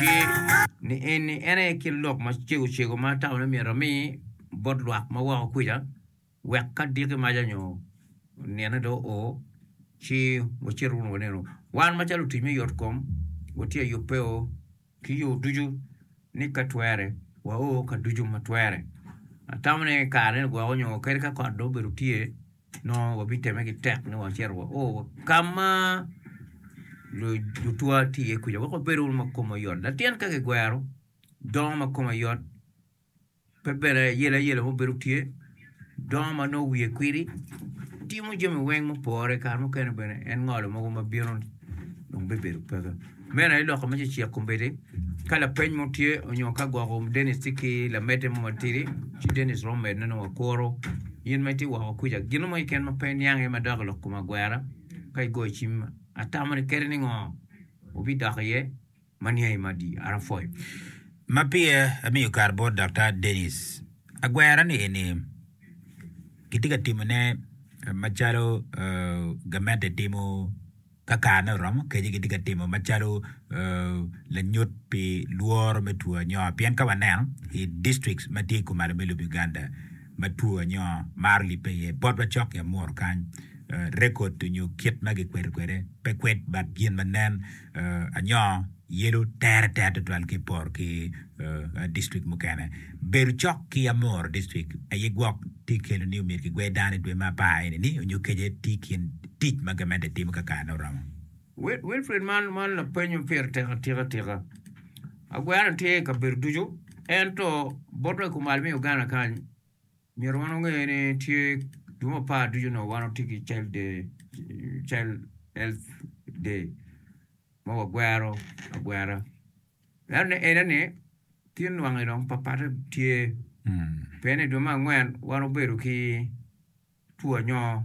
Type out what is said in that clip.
Ci ni eni en aye kin lok macego cego ma atamo ni myero ami bot lwak ma woko kwica wek ka diki maca nyo nine dong oo ci wacit wunu wanenu. Wan macalo lutic me yot kom watye ka yubbe ki yo ducu ni ka twere wao ka ducu ma twere. Atamo ni kare-ni gwoko nyo kadi ka kot dong obedo tye nongo wabitemme ki tek ni wacito wao ka ma lutwa tye iye kuca wek wabed wunu ma komwa yot. Latin ka kigwero dongo ma kome yot pe bene ayela ayela mo bedo tye dongo ma nongo wiye kwidi timo jami weng mupore kare mukene bene en ngolo mogo ma bino dong bibedo peke. Meno aye lok ma cecek kombeddi ka lapeny mo tye nyo ka gwoko Dennis tye ki lamedde mo matidi ci Dennis romo medone nongo wakuro in ma itye woko kwica gin mo keken ma pe iniang iye madok i lok kom agwera ka igoyo cim atamo ni kadi ni ngo wubidok iye ma niangi madi an apwoyo. Ma peya amiyo kare bot Daktar Dennis, agwera ni eni kitye ka timone macalo gamente timo ka karene oromo kece gitye ka timo macalo lanyut pi lworo me two anyo pien ka waneno i districts ma tye kumalo me lobo Uganda ma two anyo maro libbe iye bot wa cok ki Amuru kany rekod nyo kit ma gikwedo kwede pe kwed but gin ma nen anyo yelo tere tere tutwal ki iporo ki distrik mukene. Bedo cok ki Amuru distrik aye gwok tye kelo ni omyero kigwe dano i dwe me apar eni ni onyo kece tye i kin tic ma gamente timo ka karene oromo. Wilfred man man lapeny ma pire tek atika atika. Agwero tye i kabedo ducu ento botwa i kumalo me Uganda kany Myero wan wange ni tye dwe me apar ducu onongo wan watye ki child day, child health day ma wagwero agwera ento ni ene ni tye nwange dong papatte tye pien i dwe me angwen wan wabedo ki two anyo.